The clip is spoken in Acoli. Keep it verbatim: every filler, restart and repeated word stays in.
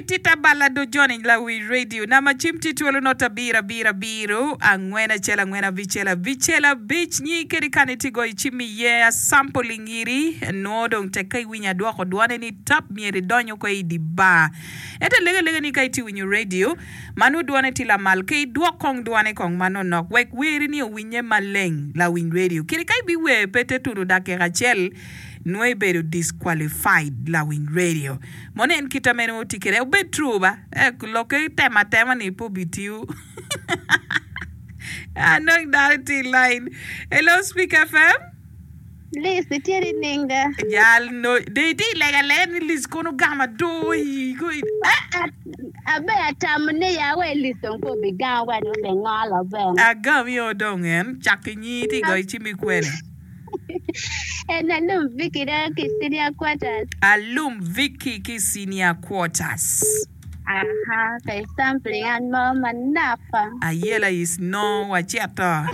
itita bala do Johnny lawi radio nama cim tye twolo not abiro abiro abiro angwen acel angwen abicel abicel abic nyi kedi kan itye goyo cim iye asampling iri nwo dong tek ka iwinyo adwoko dwone ni tap myero idonyo ko i di bar ento alego alega ni ka itye winyo radio ma nwo dwone tye lamal ke idwok kong dwone kong manonok wek weri ni owinye maleng lawiny radio kadi ka ibiwer pe te tudo dakika acel nwo ibedo disqualified lawiny radio mono en kita meno tye kede obed true ba eh, lokke tema atema ni pe obitiyo anong dano tye i line hello speak fm Liz, itye ni ninga? jal no de itye i lega alega ni Liz kono gama do i go i eh, Abe atamo ni ya we Liz dong pe obigamo wa ni obe ngolo ben. agam yo dong en cak inyi tye i goyo cim i kwene En alum Vicky da ki senior quarters. alum Vicky ki senior quarters Aha, kay sampling an mo manapa. ayela is no waceto